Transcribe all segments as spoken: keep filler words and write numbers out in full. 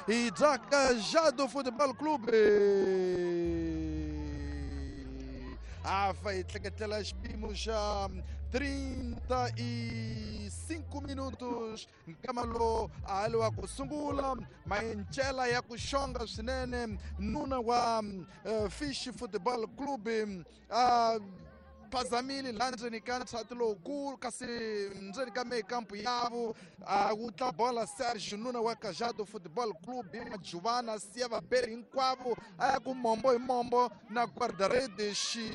I bya Cajado Football Club. A fa hi tleketlela xipimo xa trinta e cinco minutos nkama lowu a ha wa ku sungula mayencela ya ku xonga swinene nuna wa uh, Fish Football Club uh, phazamile laha ndzeni ka ntshato lowukulu kasi ndzeni ka mekampu yavo a wutla bola Sergio nuna wa Cajado Football Club Majuvana siya vaberi hinkwavo a ya ku mombo hi mombo na guarda-redes xi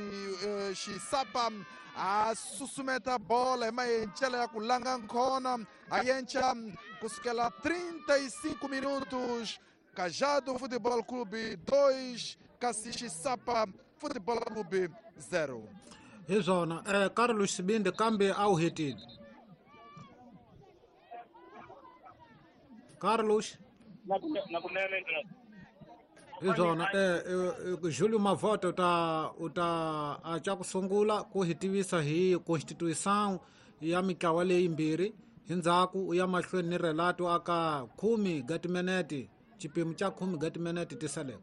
xisapa a susumeta bola hi mayencela ya ku langa nkhona a yenca kusukela trinta e cinco minutos Cajado Football Club dois kasi Xisapa Football Club zero. Hi swona eh Carlos Sibinde kambe a wu hetile Carlos hi swona eh Julio Mavoto u ta u ta aca ku sungula ku hi tivisa hi constituição ya mitlawa leyi mbirhi hi ndzhaku u ya mahlweni ni relato aka khume ga timinete xipimo xa khume ga timinete tisaleko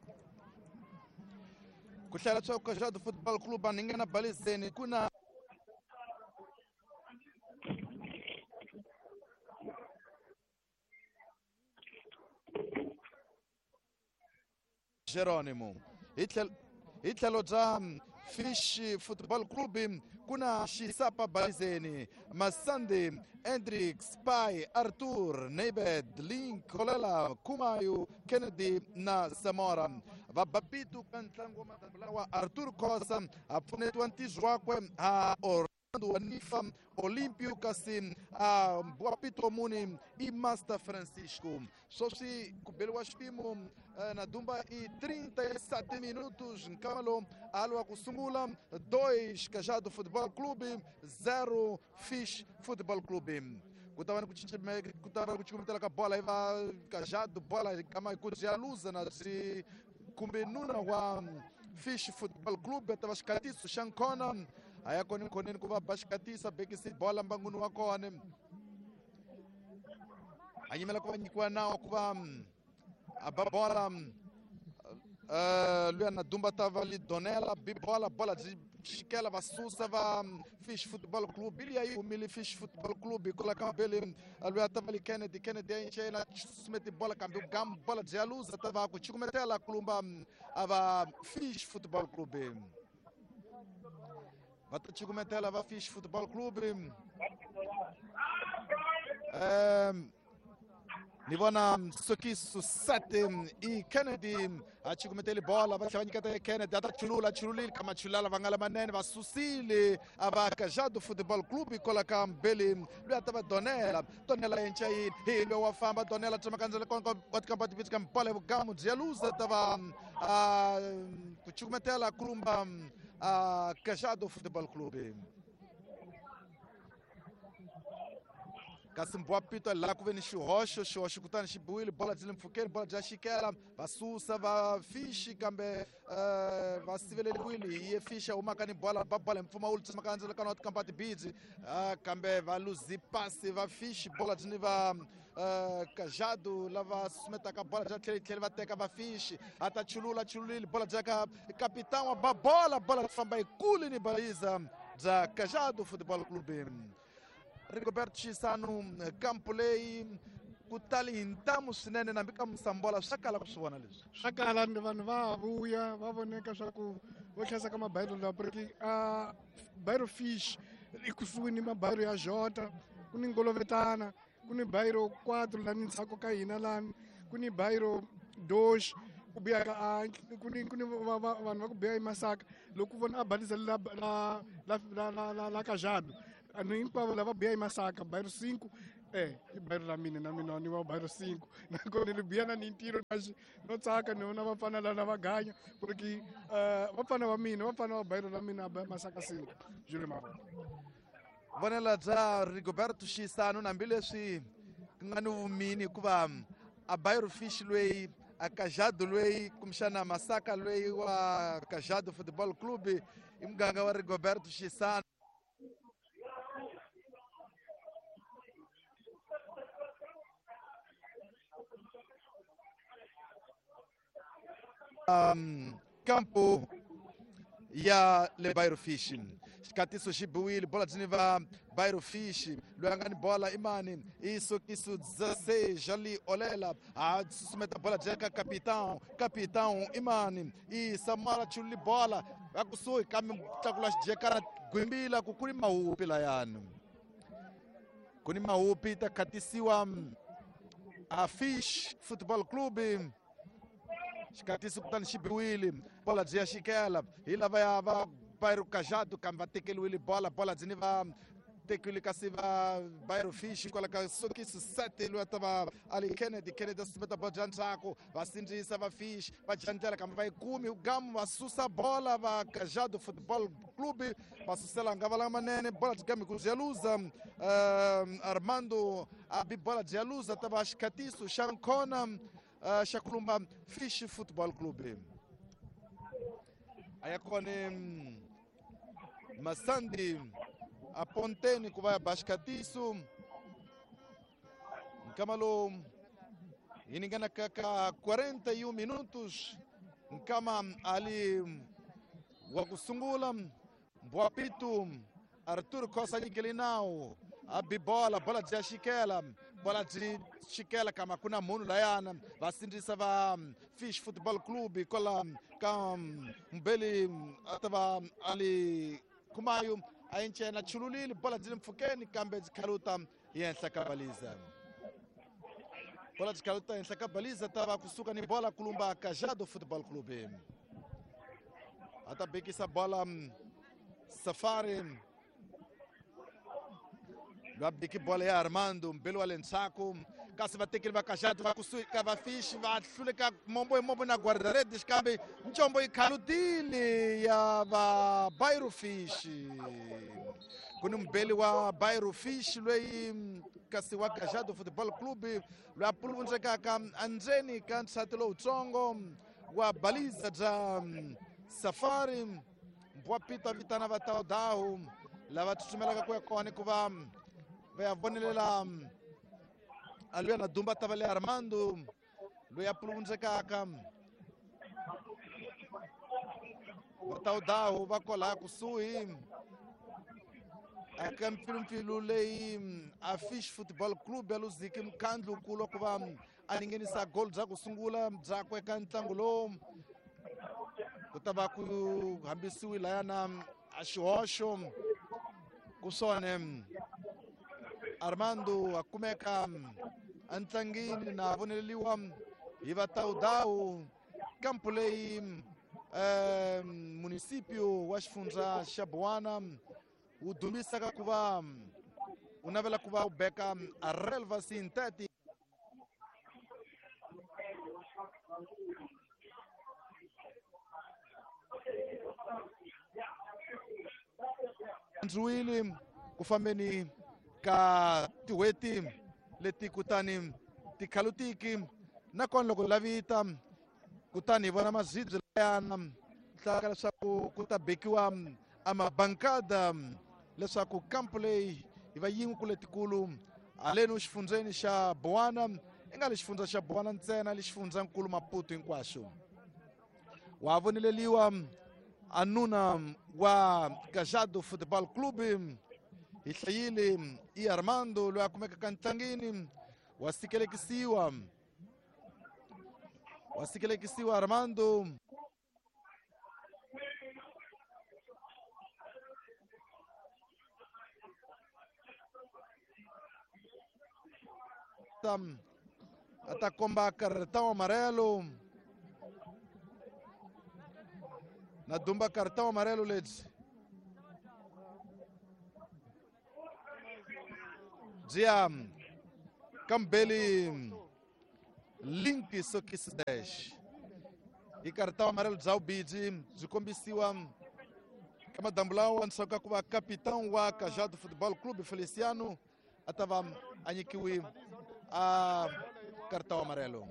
ku hlela swa Cajado Football Club a ni nga na balizeni ku na Jerónimo hi tlhelo hi tlhelo bya Fish Football Club ku na Xisapa balizeni Masande Hendrik Spy Arthur Neibed Link Kolela Kumayo Kennedy na Samora vabapitu ka ntlangu wa matambu lawa Arthur Khosa a pfunetiwa ntizo wakwe a Orlando Wanifa Olimpio kasi a Boapito Muni i Master Francisco sweswi ku beliwa xipimo na dumba i trinta e sete minutos nkama lowu a lwa ku sungula dois Cajado Football Club zero Fish Football Club ku ta va ni ku cinca ku ta va ku cukumetela ka bola hi va Cajado bola kama ku bya luza na byi kumbe nuna wa Fish Football Club ta va xikatiso xa nkhona a ya kona nkhoneni ku va ba xikatisa bekisi bola mbanguni wa kona a yimela ku va nyikiwa nawu ku va a ba bola luya na dumba ta va lidonela bi bola bola byi xikela va susa va Fish Football Club liya yi humile Fish Football Club hikwalaho ka mabele luya ta va li Kennedy Kennedy ya incela susumeti bola kambe gamu bola byi ya luza ta va ku cukumetela kulumba a va Fish Football Club va ta cukumetela va Fish Football Club um ni vona Sokiso sete i Kennedy a cukumeteli bola va tlhela va nyiketa Kennedy a ta chulula chululile ka machulala va nga lamanene va susile a va Cajado Football Club hikwalaho ka mbeli loyi a ta va donela donela yenca yini hi loyi wa famba donela tsemakanyela wa tikamba tipitsi ka bola ya vugamu byi ya luza ta va ku cukumetela kulumba Cajado Football Club kasi Mbwapito laha ku ve ni xihoxo xihoxo kutani xi biwile bola byi le mpfhukeni bola bya xikela va susa va Fish kambe uh, va siveleriwile hi ye Fish a humaka ni bola ba bola hi mpfumawulo tsemaka ndzilakano wa tikamba tibidzi uh, kambe va luzi pasi va Fish bola byi ni va uh, Cajado lava susumetaka bola bya tlhela tlhela va teka va Fish a ta chulula chululile bola bya ka kapitão wa ba bola bola famba hi kule ni baliza bya Cajado Football Club Rigoberto Chisano kampo leyi ku tali hi ntamu swinene nambi ka Musambola swa kala ku swi vona leswi swa kala ni vanhu va vuya va voneka swa ku vo hlayisa ka mabayiro lawa porque a bayiro Fish i kusuhi ni mabayiro ya Jota ku ni Ngolovetana ku ni bayiro quatro lani ndzhaku ka hina lani ku ni bayiro dois ku biya ka ku ni ku ni vanhu va ku biya hi Masaka loko vona a balisa la la la la la la Cajado vanhu hinkwavo lava biya hi Masaka bayiro cinco eh i bayiro la mina na mina ni wa bayiro cinco nakona ni biya na ni ntirho no tsaka ni vona vafana lana va ganya porque vafana va mina vafana va bayiro la mina Masaka cinco Julio Mavoto vonela bya Rigoberto Chisano hambileswi ku nga ni vumini hikuva a bayiro Fish loyi a Cajado loyi kumbexana Masaka loyi wa Cajado Football Club i muganga wa Rigoberto Chisano um, campo ya le Bairro Fish. Xikatiso xi biwile bola byi ni va Bairro Fish loyi a nga ni bola imani i sokiso dezesseis ali olela a susumeta bola byi ya ka capitão capitão imani i Samara chuli bola va kusuhi kambe tlakula xijekana gwimbila ku ku ni mahupi layani ku ni mahupi ta khatisiwa a Fish Football Club. Xikatiso kutani xi biwile bola byi ya xikela hi lava ya va Bairro Cajado kambe va tekeriwile bola bola byi ni va tekiwile kasi va Bairro Fish kwala ka sokiso sete loyi a ta va ali Kennedy Kennedy a susumeta bola bya ndzhaku va sindzisa va Fish va dya ndlela kambe va yi kumi gamu va susa bola va Cajado Football Club va susela nga valanga manene bola byi kambe ku byi ya luza um, Armando a bi bola byi ya luza ta va xikatiso xa nkhona uh, xa kulumba Fish Football Club. A ya kona Masandi aponteni ku va ya ba xikatiso nkama lowu hi ninganaka ka quarenta e um minutos nkama ali wa ku sungula Mbuapitu Arthur Costa nyikele nawu a bi bola bola byi ya xikela bola byi xikela kama ku na munhu layana va sindzisa va Fish Football Club kwala ka mbeli a ta va ali Kumayo a incena chululile bola byi le mpfhukeni kambe byi khaluta hi henhla ka baliza bola byi khaluta henhla ka baliza ta va kusuka ni bola kulumba Cajado Football Club. A ta bekisa bola Safari va beki bola ya Armando mbeli wa le ndzhaku kasi vatekeli va Cajado va kusuhi ka va Fish va hluleka mombo hi mombo na guarda-redes kambe ncombo yi khalutile ya va Bairro Fish. Ku ni mubeli wa Bairro Fish loyi kasi wa Cajado Football Club loyi a puluvundzekaka endzeni ka nsati lowutsongo wa baliza bya Safari. Mbwapito a vitana va Taudahu lava tsutsumelaka ku ya kona ku va va ya vonelela a luya na dumba ta va le Armando loyi a puluvundzekaka. Va Taudahu va kwalaya kusuhi eka mpfilumpfilu leyi a Fish Football Club ya luziki mukhandlu ku va a ringenisa goal bya ku sungula byakwe eka ntlangu lowu ku ta va ku hambisiwe layana a xihoxo ku swone Armando a kumeka entlangini na voneleliwa hi va Taudahu kampo leyi eh, municipio wa xifundza xa Boana wu dumisaka ku va wu navela ku va wu beka a relva synthetic ndziwile ku fambeni ka tin'hweti leti kutani tikhalutiki nakona loko lavita kutani hi vona mazibye layana hlaka leswaku ku ta bekiwa a mabankada leswaku kampo leyi yi va yin'we ku letikulu haleni xifundzeni xa Boana i nga le xifundza xa Boana ntsena le xifundzankulu Maputo hinkwaxo. Wa voneleliwa a nuna wa Cajado Football Club hi hlayile i Armando loyi a kumekaka ntlangini wa sikelekisiwa wa sikelekisiwa Armando. A ta komba cartão amarelo na dumba cartão amarelo lebyi byi ya kambeli link sokisi dash hi cartão amarelo bya vubiji byi kombisiwa ka madambu lawa ndzhaku ku va capitão wa Cajado Football Club Feliciano a ta va a nyikiwe a cartão amarelo.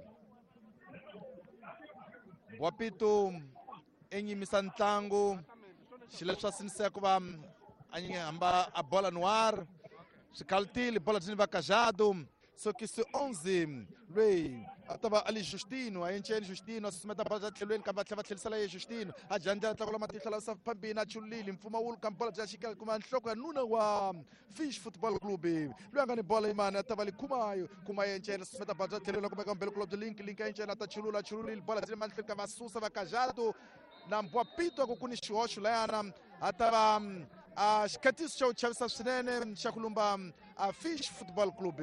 Wapito enyimisa ntlangu xilo swa siniseka ku va a hamba a bola no ar swikhalutile bola byi ni va Cajado Sokisi onze lweyi a ta va ali Justino a enceni Justino a susumeta bola bya tlhelweni kambe a tlhela va tlhelisela ye Justino a jandlela tlakula matihlo lawa phambini a chululile mpfumawulo kambe bola bya xikela kuma nhloko ya nuna wa Fish Football Club loyi a nga ni bola yimani a ta va li khumayo khuma ye enceni a susumeta bola bya tlhelweni kumeka mbele kulobye link link a enceni a ta chulula chululile bola byi le mahlweni ka va susa va Cajado na Mbwapito ku ku ni xihoxo layana a ta va a xikhatiso xa ku chavisa swinene xa ku lumba a Fish Football Club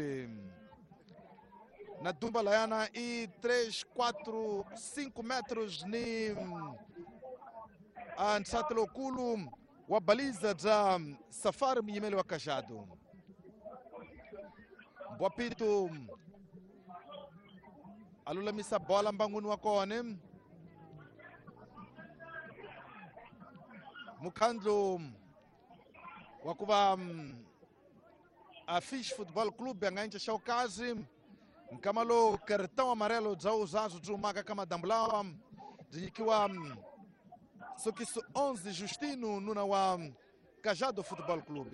na dumba layana i três quatro cinco metros ni a nsati lowukulu wa baliza bya Safari muyimeli wa Cajado Mbwapito a lulamisa bola mbangwini wa kona mukhandlu wa ku va a Fish Football Club a nga enca xa wukazi nkama lowu cartão amarelo bya uzazo byi humaka ka madambu lawa byi nyikiwa Sokisi onze Justino nuna wa Cajado Football Club.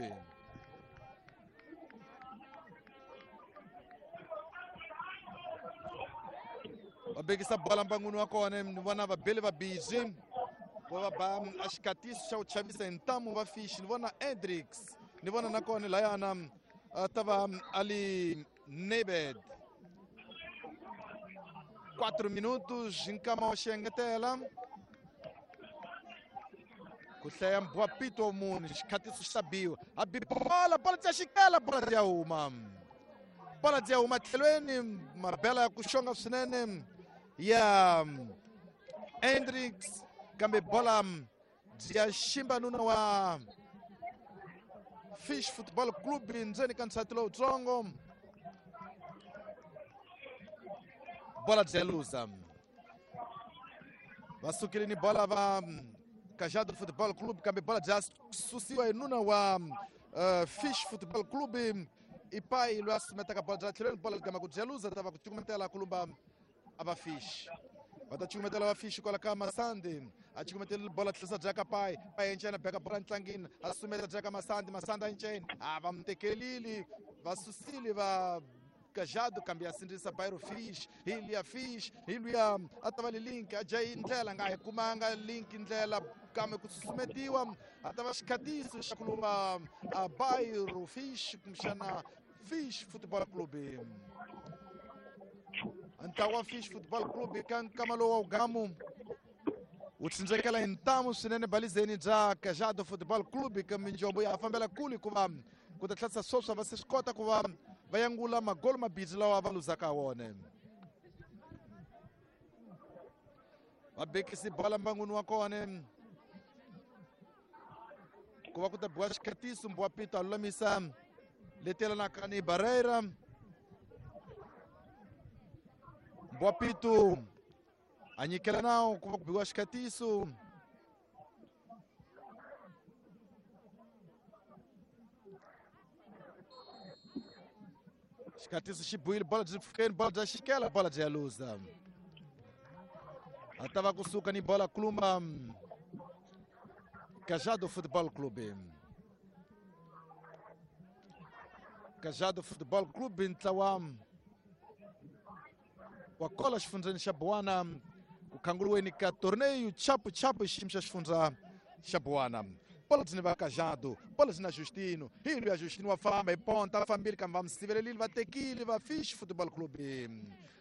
Va bekisa bola mbangwini wa kona ni vona vabeli va busy ku va ba a xikatiso xa ku chavisa hi ntamu va Fish ni vona Hendrix ni vona nakona layana a ta va ali Nebed quatro minutos nkama wa xiengetela ku hlaya Mbwapito mune xikhatiso xi ta biwa a bi bola bola bya xikela bola bya huma bola bya huma tlhelweni mabela ya ku xonga swinene ya Hendrix kambe bola bya ximba nuna wa Fish Football Club ndzeni ka nsati lowutsongo bola bya luza va sukile ni bola va Cajado Football Club kambe bola bya susiwa hi nuna wa uh, Fish Football Club ipai loyi a sumetaka bola bya tlhelweni bola gama ku bya luza ta va ku cukumetela ku lumba a va Fish va ta cukumetela va Fish kwala ka Masandi a cukumetela bola tlhisa bya ka pai pai encena beka bola ntlangini a sumeta bya ka Masandi Masandi a enceni a va mu tekelile va susile va Cajado kambe ya sindzisa Bairo Fish hi luya Fish hi luya a ta va le link a jayi ndlela nga hi kumanga link ndlela kambe ku susumetiwa a ta va xikhatiso xa ku lumba a Bairo Fish kumbexana Fish Football Club ntlawa wa Fish Football Club ka nkama lowu wa wugamu wu tsindzekela hi ntamu swinene balizeni bya Cajado Football Club ka minjombo ya ha fambela kule hikuva ku ta tlherisa sweswi va se swi kota ku va va yangula magolo mabidzi lawa va luzaka wona va bekisi bola mbangwini wa kona ku va ku ta biwa xikhatiso Mbwapito a lulamisa leti yelanaka ni Barreira Mbwapito a nyikela nawu ku va ku biwa xikhatiso xikhatiso xi buyile bola byi pfukeni bola bya xikela bola bya luza a ta va kusuka ni bola kulumba Cajado Football Club Cajado Football Club ntlawa wa kola xifundzeni xa Buwana ku khanguriweni ka torneio chapu chapu xiyimo xa xifundza xa Buwana bola byi ni va Cajado bola byi na Justino hi luya Justino wa famba hi ponta va fambile kambe va mi sivelelile va tekile va Fish Football Club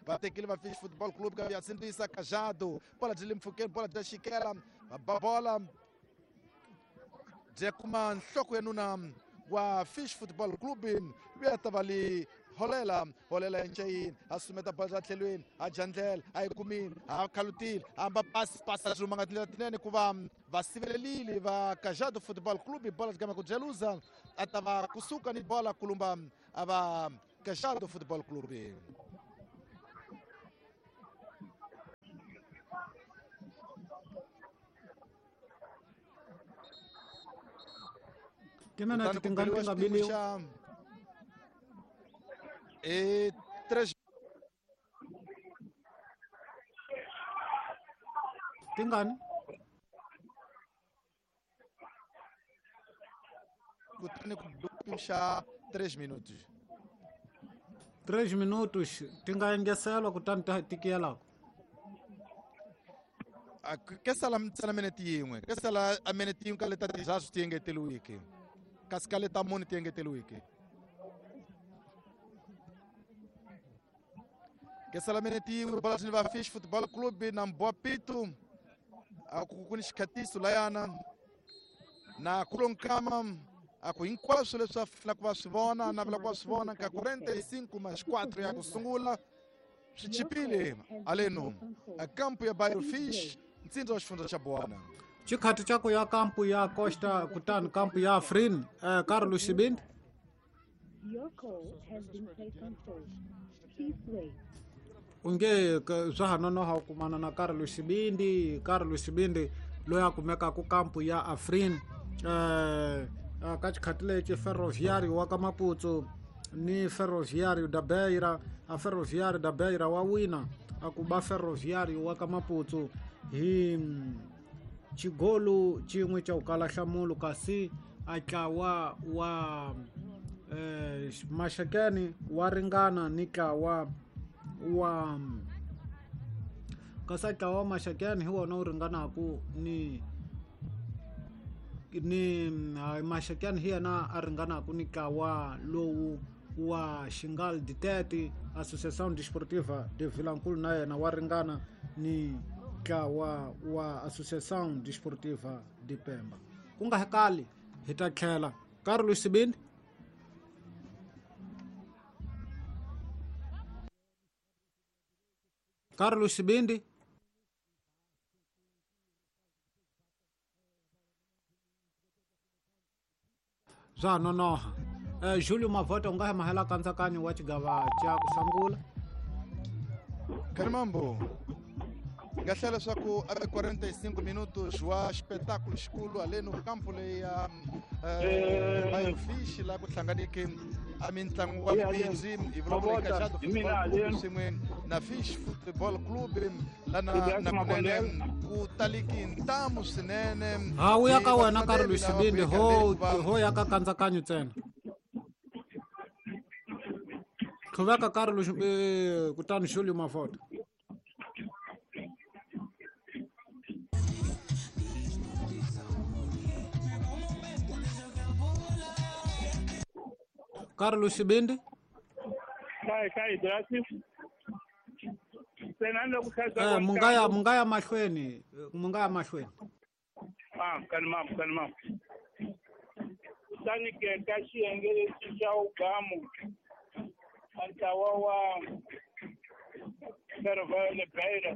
va tekile va Fish Football Club kambe ya sindzisa Cajado bola byi le mpfhukeni bola bya xikela va ba bola bya kuma nhloko ya nuna wa Fish Football Club luya ta va li holela holela enceyini a sumeta bola bya tlhelweni a dya ndlela a yi kumile a khalutile hamba pasi pasi a lumanga tindlela tinene ku va va sivelelile va Cajado Football Club bola gama ku dyaluza a ta va kusuka ni bola kulumba a va Cajado Football Club Timinete tingani ti nga biliwa e três tingani kutani ku xa três minutos. três minutos ti nga engeselwa kutani ti tikiyelako. Ke sala ntsena minete yin'we, ke sala a minete yin'we ka leta tinharhu ti engeteriwiki, kasi ka leta mune ti engeteriwiki. Ke sala minete yin'we bola va Fish Football Club na Mboa Pito a ku ku ni xikhatiso layana na kulonkama a ku hinkwaswo leswi va fanelaka va swi vona na vulaka va swi vona ka quarenta e cinco mais quatro ya ku sungula swi chipile aleno a kampu ya Bairro Fish ntsindza wa xifundza xa Boana. Xikhati xa ku ya kampu ya Costa kutani kampu ya Afrin eh, Carlos Xibindi. Your call has been placed on hold. Please wait. Unge swa ha nonoha ku kumana na Carlos Xibindi. Carlos Xibindi loyi a kumekaka kampu ya Afrin eh, ka xikhati lexi Ferroviário wa ka Maputo ni Ferroviário da Beira. A Ferroviário da Beira wa wina a ku ba Ferroviário wa ka Maputo hi xigolu xin'we xa ku kala nhlamulo, kasi a ntlawa wa eh, Maxakeni wa ringana ni ntlawa wa kasi a ntlawa wa Maxakeni hi wona wu ringanaku ni ni Maxakeni hi yena a ringanaku ni ntlawa lowu wa Xingal Ditete Associação Desportiva de Vilankulu na yena wa ringana ni ntlawa wa Associação Desportiva de Pemba. Ku nga hekali hi ta tlhela. Carlos Xibindi. Carlos Xibindi. Swa nonoha. Eh, Júlio Mavota u nga ha mahela kantsakanyo wa xigava xa ku sungula. Karimambo nga hlela leswaku a ve quarenta e cinco minutos wa xipetáculo xikulu haleno kampo leyi ya Bairro Fish laha ku hlanganeke a mitlangu wa mibindzi hi vulavula eka Jado Football Club swin'we na Fish Football Club lana na kunene ku taliki ntamu swinene. Ha wu ya ka wena Carlos Xibindi, ho ho ya ka kantsakanyo ntsena. Tlhuveka Carlos eh, kutani Júlio Mavota. Carlos Xibindi. Kai kai gracias. Eh, mungaya mungaya mahlweni, mungaya mahlweni. Ah, kalma kalma. Kutani ke ka xiyenge lexi xa ugamu ntlawa wa Ferroviário de Beira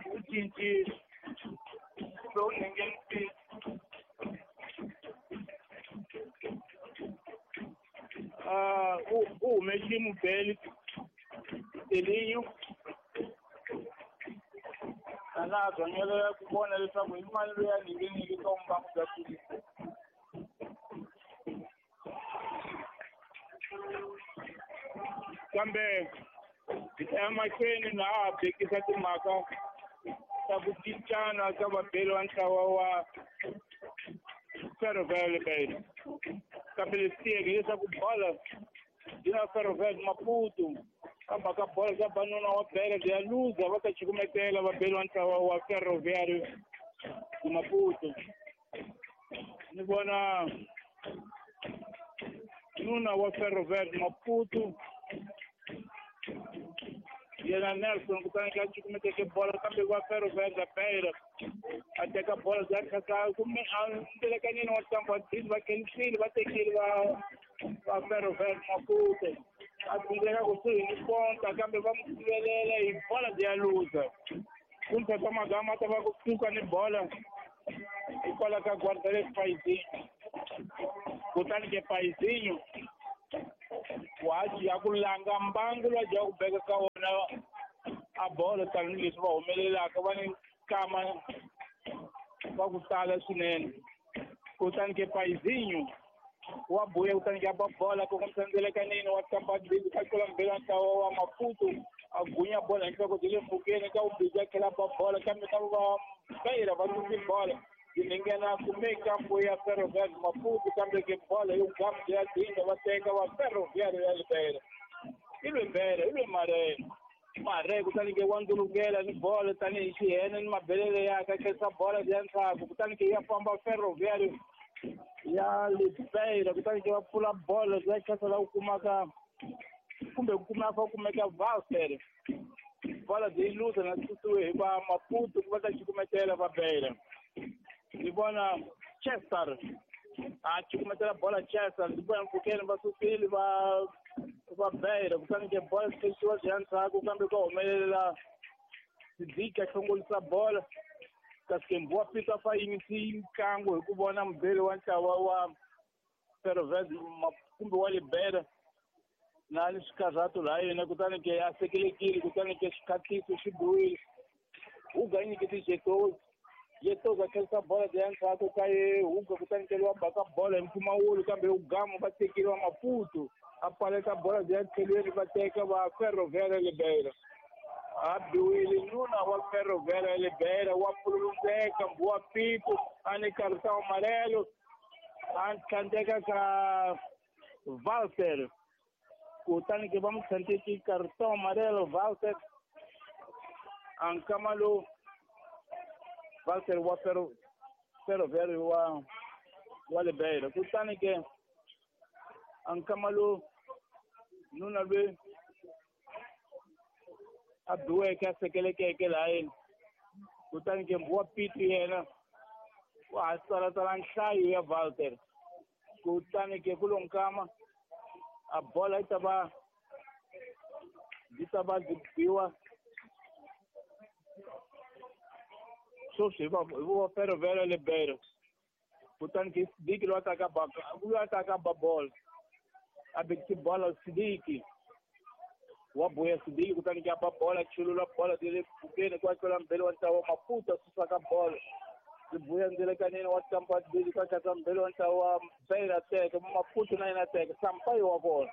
wu cincile lowu nghenisi ah u hume ximubeli Telinho na laha byanyelo ya ku vona leswaku hi mali loyi a ngheniki ka vumbangu bya tiko. Kambe hi ta ya mahlweni na ha bekisa timhaka ta ku cincana ka vabeli wa ntlawa wa Ferroviário Beira. Kambe leswi tiyeke hileswaku bola yi na Ferroviário Maputo kambe ka bola ka banuna wa Beira byi ya luza va ta cukumetela vabeli wa ntlawa wa Ferroviário Maputo. Ni vona nuna wa Ferroviário Maputo yena Nelson kutani ka cukumeteke bola kambe wa Ferroviário da Beira a teka bola bya khasa kumbe a ndzelekanini wa ntambu wa dini va khenisile va tekile va va Ferroviário Maputo a tsundzeka kusuhi ni ponta kambe va n'wi sivelela hi bola byi ya luza. Kumbe ka magama ta va kusuka ni bola hikwalaho ka guarda-redes Paizinho. Kutani ke Paizinho wa ya ku langa mbangu lowa ya ku beka ka wona a bolo tanihileswi va humelelaka va ni nkama va ku tala swinene. Kutani ke Paizinho wa buya kutani ke a ba bola kongomisa ndzelekanini wa tamba ka tlula mbela ntlawa wa Maputo a gunya bola hi nhloko byi le mpfhukeni ka vumbirhi a tlhela a ba bola kambe ka va Beira va susi bola Yiningena kume kampo ya Ferroviário Maputo kambe ke bola yo gamu ya dinga va teka va Ferroviário ya Beira. Ilwe Beira, ilwe Maré. Maré kutani ke wandzulukela ni bola tanihi xihene ni mabelele ya ka khensa bola ya ndzhaku kutani ke ya famba Ferroviário ya Beira kutani ke va pfula bola ya khensa la ku kumaka kumbe ku kumeka ku kumeka Walter. Bola byi luza na susiwe hi va Maputo ku va ta cukumetela va Beira. Ni vona Chester a cukumetela bola Chester ni vona mpfhukeni va susile va va Beira kutani ke bola tlhisiwa bya ndzhaku kambe ka humelela Sidiki a hlongolisa bola kasi ke Mbuwa Peter fa yimisi ntlangu hi ku vona mubeli wa ntlawa wa Ferroviário kumbe wa Beira na ni swikarhato laha yena kutani ke a sekelekile kutani ke xikhatliso xi biwile Huga nyiketi Jetosi Jetosi a khensa bola ya ndzhaku ka ye Huga kutani ke wa baka bola hi mpfumawulo kambe Ugamu va tekile wa Maputo a paleta bola ya tlhelweni va teka va Ferroviário ya Beira. A biwile nuna wa Ferroviário ya Beira wa pululundeka Mbuwa Pito a ni cartão amarelo a tlhandeka ka Walter kutani ke va mu tlhandeki cartão amarelo Walter a nkama lowu Walter wa Ferro Ferroviário wa wa Beira kutani ke a nkama lowu nuna lweyi a biweke a sekelekeke laha yena kutani ke Mbuwa Pito yena wa ha tsalatsala nhlayo ya Walter kutani ke ku lo nkama a bola yi ta va yi ta va byi biwa sweswi hi va hi va Ferroviário ya Beira kutani ke Sidiki loyi a taka ba loyi a taka ba bola a bekisi bola Sidiki wa buya Sidiki kutani ke a ba bola chulula bola le mpfhukeni ku a tlula mbele wa ntlawa wa Maputo a susaka bola byi buya ndzelekanini wa tsampa bili ka katsa mbele wa ntlawa wa Beira teka Maputo na yena teka Sampaio wa vona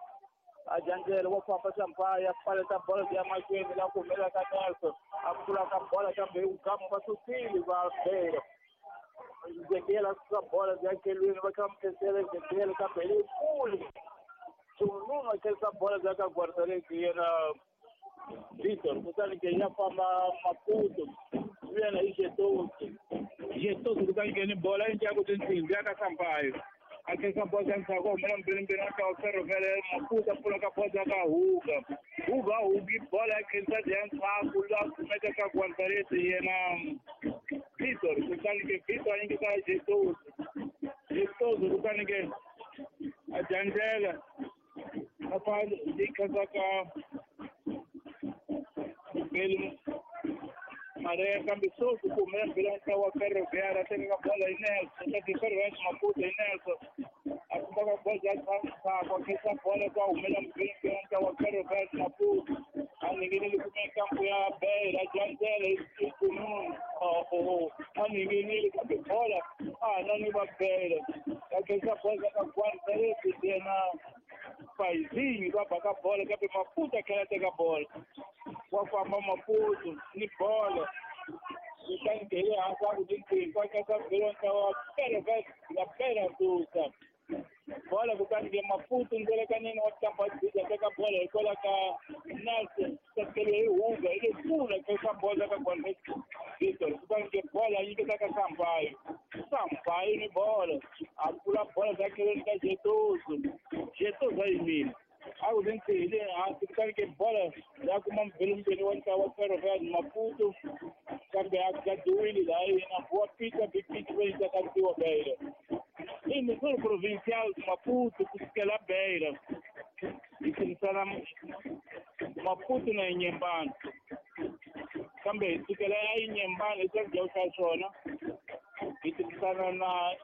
a jandzela wa famba Sampaio a paleta bola ya mahlweni la ku humelela ka Nelson a pfula ka bola kambe Ugamu va susile va Beira. Ezekiel a susa bola ya tlhelweni va kha mukhensela Ezekiel kambe leyikulu Tununu a khensa bola ya ka Guardaresi yena Vitor kutani ke ya famba Maputo yena i Jetosi Jetosi kutani ke ni bola yi ya ku tinsimbi ya ka Sampaio a khensa bola ya ndzhaku humela mbirhi wa ka Ferroviário Maputo a pfula ka bola ya ka Huga Huga hugi bola ya khensa ya ndzhaku la kumeka ka Guardaresi yena Vitor kutani ke Vitor a nyiketa Jetosi Jetosi kutani ke a jandzela a fa yi khensa ka Beli Maré kambe sweswi ku humelela mbirhi wa ntlawa wa Ferroviário a tekaka bola hi Nelson kasi Ferroviário Maputo hi Nelson a kumaka bola ya ndzhaku a khensa bola ka humelela mbirhi wa ntlawa wa Ferroviário Maputo a ninginile kume kampo ya Beira a jandzela hi Kununu a ninginile kambe bola a na ni va Beira a khensa bola ka Guardaresi yena Paizinho va baka bola kambe Maputo a tlhela a teka bola wa famba Maputo ni bola kutani ke le hansi a ku tinqingho a khensa mbirhi wa ntlawa wa Ferroviário ya Beira susa bola kutani ke Maputo ndzelekanini wa tsampa a teka bola hikwalaho ka Nelson sekele hi Huga hi le kule a khensa bola ka Guardaresi Vitor kutani ke bola yi nyiketa ka Sampaio Sampaio ni bola a pfula bola za tlhelweni ka Jetosi Jetosi a yimile a ku tinqingho le hansi kutani ke bola ya kuma mbirhi wa ntlawa wa Ferroviário Maputo kambe a gadiwile laha yena Mbuwa Peter Big Pete va yisa ka ntiwa Beira i Missouri Provincial Maputo ku sukela Beira hi tirhisana Maputo na Inhambane kambe hi sukela ya Inhambane hi swakudya swa swona hi tirhisana na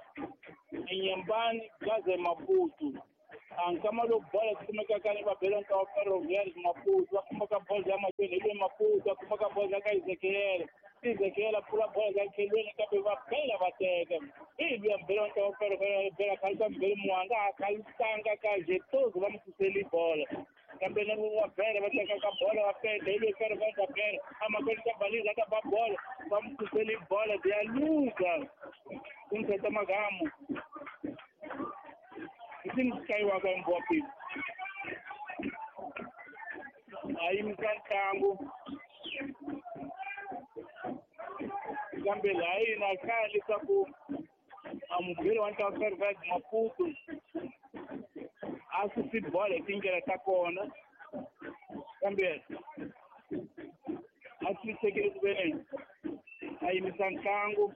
Inhambane Gaza Maputo a nkama lowu bola swi kumekaka ni va bela ntlawa wa Ferroviário Maputo va kumaka bola ya mahlweni hi le Maputo va kumaka bola ya ka Ezekiel Ezekiel a pfula bola ya tlhelweni kambe va Beira va teka i luya mbirhi wa ntlawa wa Ferroviário Beira khalisa mbirhi muhanga a khalisanga ka Jetosi va mu suseli bola Kambe na wa Beira va teka ka bola va peta hi loyi Ferroviário da Beira amakwenu ka baliza ka ba bola va mu suseli bola ya luza kumthetho magamu isimkayiwaka mbopini a yimisa ntlangu kambe laha yina hlaya leswaku a mubeli wa ntlangu Ferroviário Maputo a susi bola hi tindlela ta kona kambe a swi ku veni a yimisa ntlangu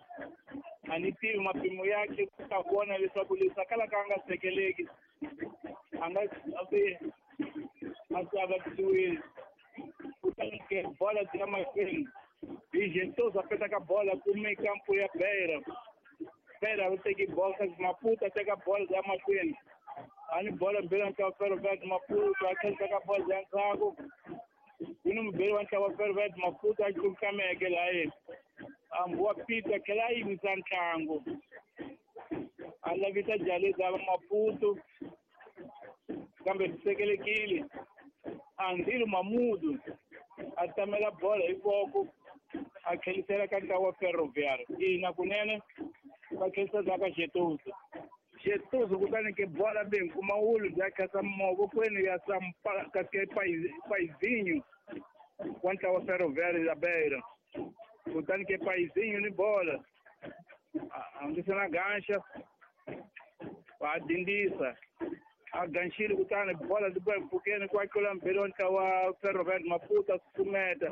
a ni tivi mapimo yakhe ku ta vona leswaku leswi a kalaka a nga sekeleki a nga a ve a swi a vavisiwile kutani ke bola byi ya mahlweni hi Gentoso a peta ka bola kume kampo ya Beira Beira u teki bola Maputo a teka bola bya mahlweni a ni bola mbirhi wa ntlawa Ferroviário Maputo a tlhelisa ka bola bya ndzhaku ku ni mubeli wa ntlawa Ferroviário Maputo a cukumeke laha yena ambuwa Pito a tlhela a yimisa ntlangu a lavisa jaleza va Maputo kambe swi sekelekile Andile Mamudu a tamela bola hi voko a tlhelisela ka ntlawa wa Ferroviário ina kunene va tlhelisa ka Gentoso Gentoso kutani ke bola be mpfumawulo bya khasa mavokweni ya Sampa ka Paizinho wa ntlawa wa Ferroviário da Beira kutani ke Paizinho ni bola a hundzisa na ganxa va dindisa a ganxile kutani bola li ba mpfhukeni ku tlula mbirhi wa ntlawa wa Ferroviário Maputo a susumeta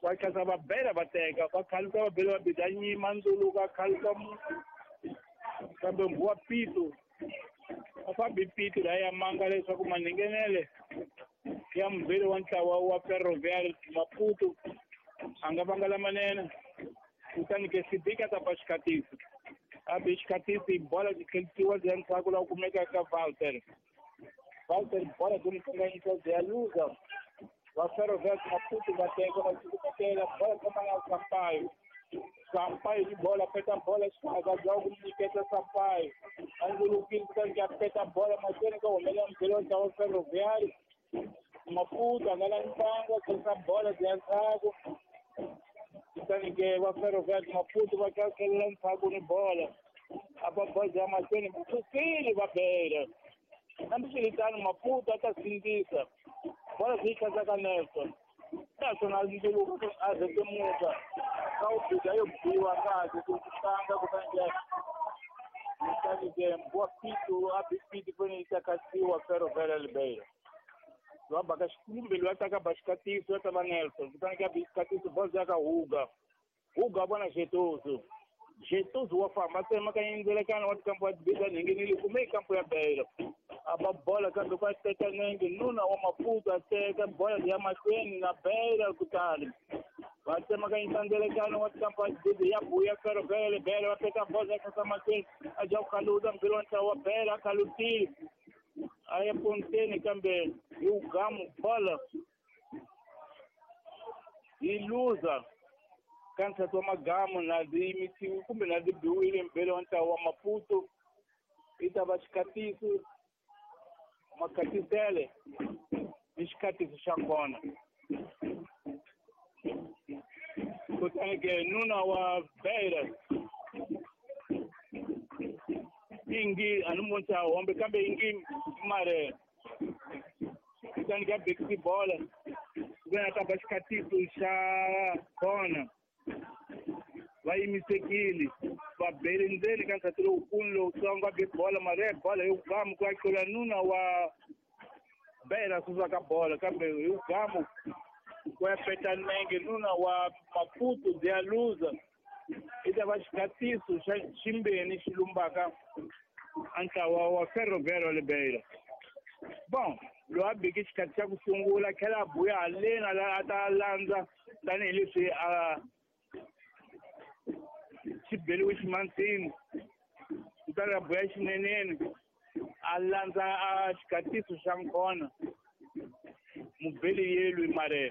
va tlhasa va Beira va teka va khaluka va bele va bida nyima ndzuluka khaluka kambe mbuwa Pito a fambi Pito laha ya manga leswaku manengenele ya mubeli wa ntlawa wa Ferroviário Maputo a nga vanga lamanene kutani ke Sidika ta ba xikatisi a bi xikatisi bola byi tlhelisiwa byi ya ndzhaku laha ku kumeka ka Walter Walter bola byi n'wi kanganyisa byi ya luza va Ferroviário Maputo va teka va cukumetela bola tshama na Sampaio Sampaio ni bola peta bola xikarhi bya ku nyiketa Sampaio a ndzulukile kutani ke a peta bola mahlweni ka humelela mubeli wa ntlawa wa Ferroviário Maputo a nga langutanga a tlhelisa bola byi ya ndzhaku kutani ke va Ferroviário Maputo va tlhelela ndzhaku ni bola a va bola bya mahlweni va susile va Beira hambiswiritano Maputo a ta sindzisa bola byi yi tlhasa ka Nelson Nelson a ndzuluka a rhetemuka ka u bida yo biwa kahle ku tlanga kutani ke kutani ke mbuwa Pito a bi Pito kweni yi ta khasiwa Ferroviário da Beira va baka xikumbe loyi a taka ba xikatiso a ta va Nelson kutani ke a bi xikatiso bola bya ka Huga Huga vona Gentoso Gentoso wa famba tsemakanya ndzelekano wa tikampo wa tibisa nhengenile kume kampo ya Beira a ba bola kambe ku a teka nenge nuna wa Maputo a teka bola ya mahlweni na Beira kutani va tsemakanyisa ndzelekano wa tikampo wa tibisa ya buya Ferroviário Beira va teka bola ya khasa mahlweni a dya ku khaluta mbirhi wa ntlawa wa Beira a khalutile a ya ponteni kambe hi ugamu bola yi luza ka nsati wa magamu na byi yimisiwi kumbe na byi biwile mbirhi wa ntlawa wa Maputo yi ta va xikatiso makhatisele ni xikatiso xa kona kutani ke nuna wa Beira ingi a ni munhu a hombe kambe ingi mare kutani ke a bekisi bola kutani a ta ba xikatiso xa kona va yimisekile va bele ndzeni ka nsati lowukulu lowutsongo a be bola mara bola hi ugamu ku ya tlula nuna wa Beira susa ka bola kambe hi ugamu ku ya peta nenge nuna wa Maputo byi ya luza i ta va xikatiso xa ximbeni xi lumbaka a ntlawa wa Ferroviário da Beira bon loyi a beke xikati xa ku sungula tlhela a buya haleni a ta landza tanihileswi a xi beliwe ximansini kutani a buya xineneni a landza a xikatiso xa nkona mubeli yelwi mare